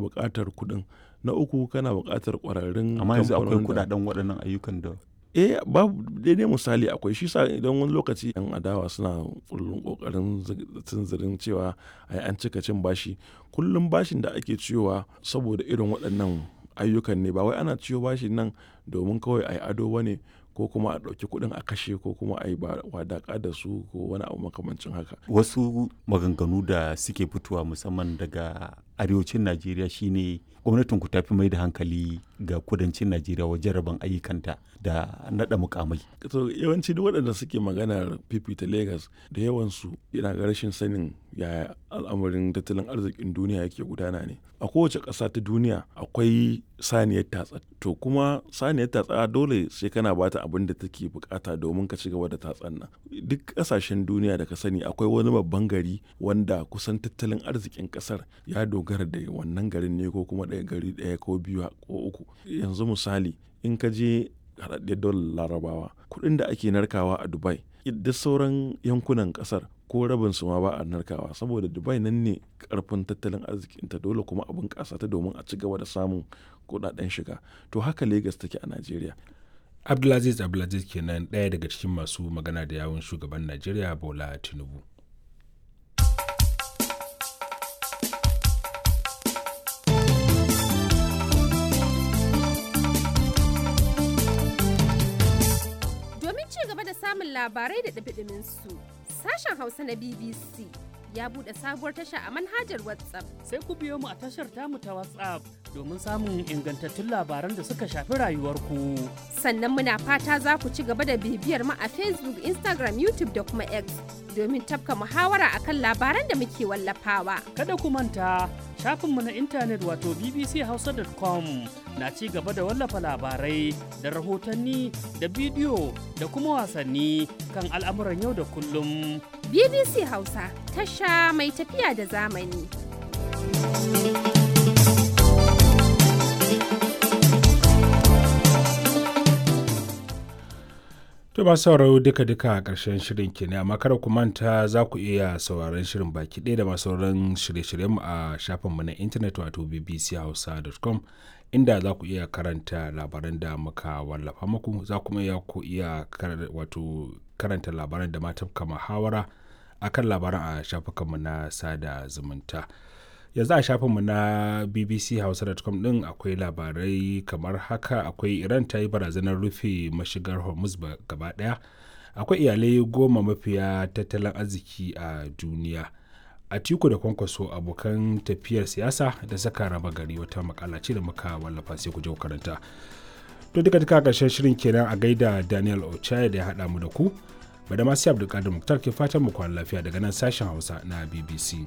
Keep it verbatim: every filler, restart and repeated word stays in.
buƙatar kuɗin. Na uku, kana buƙatar ƙwararrun Amma yanzu akwai kamfanonin da kuɗaɗen waɗannan ayyukan da Eh, babu daidai misali akwai shi sa idan wani lokaci 'yan adawa suna kullum ƙoƙarin tunzirin cewa ai an cika cin bashi. Kullum bashin da ake ciyowa saboda irin waɗannan ayyukan ne, ba wai ana ciyo bashin nan domin kawai a yi ado ba ne ko kuma a ɗauki kuɗin a kashe ko kuma a yi wadaƙa da su ko wani abu makamancin haka. Wasu maganganu da suke fitowa musamman daga arewacin Najeriya shine gwamnatin ku tafi mai da hankali ga kudancin Najeriya wajen rabon ayyukanta da naɗa mukamai. To, yawanci duk waɗanda suke maganar fifita Legas, da yawansu yana ga rashin sanin yaya al'amarin tattalin arzikin duniya yake gudana ne. A kowace ƙasa ta duniya akwai saniyar tatsa. To kuma saniyar tatsa dole sai kana ba ta abin da take bukata domin ka ci gaba da tatsan nan. Duk ƙasashen duniya da ka sani akwai wani babban gari wanda kusan tattalin arzikin ƙasar ya dogara da wannan garin ne, ko kuma ɗaya gari ɗaya ko biyu ko uku. Yanzu misali, in ka je Haɗaɗɗiyar Daular Larabawa, kuɗin da ake narkawa a Dubai, duk sauran yankunan ƙasar ko rabin su ma ba a narkawa, saboda Dubai nan ne ƙarfin tattalin arzikinta, dole kuma a bunƙasa ta domin a ci gaba da samun kuɗaɗen shiga. To haka Legas take a Najeriya. Abdulaziz Abdulaziz kenan, ɗaya daga cikin masu magana da yawun shugaban Najeriya Bola Tinubu. Domin ci gaba da samun labarai da ɗumi su, sashen Hausa na B B C ya buɗe sabuwar tasha a manhajar WhatsApp. Sai ku biyo mu a tashar tamu ta WhatsApp domin samun ingantattun labaran da suka shafi rayuwarku. Sannan muna fata za ku ci gaba da bibiyar mu a Facebook, Instagram, YouTube da kuma X domin tafka muhawara akan labaran da muke wallafawa. Kada ku manta, shafinmu na intanet wato B B C hausa dot com na ci gaba da wallafa labarai da rahotanni da bidiyo da kuma wasanni kan al'amuran yau da kullum. B B C Hausa, tasha mai tafiya da zamani. To ba sauraro, duka-duka a ƙarshen shirin kenan, amma kada ku manta za ku iya sauraron shirin baki ɗaya da masu sauran shirye-shiryenmu a shafinmu na intanet wato B B C hausa dot com, inda za ku iya karanta labaran da muka wallafa muku, za kuma iya ku iya wato karanta labaran da ma tafka muhawara akan labaran a shafukanmu na sada zumunta. Yanzu a shafinmu na B B C hausa dot com din akwai labarai kamar haka: akwai Iran ta yi barazanar rufe mashigar Hormuz gaba daya, akwai iyalai goma mafiya tattalin arziki a duniya, Atiku da Kwankwaso abokan tafiyar siyasa da saka raba gari, wata makala ce da muka wallafa, sai ku je ku karanta. To duka duka karshen shirin kenan, a gaida Daniel Ochai da ya haɗa mu da ku. Bada masu Abdulkadir Muktar ke fatan mu kwana lafiya daga nan sashen Hausa na B B C.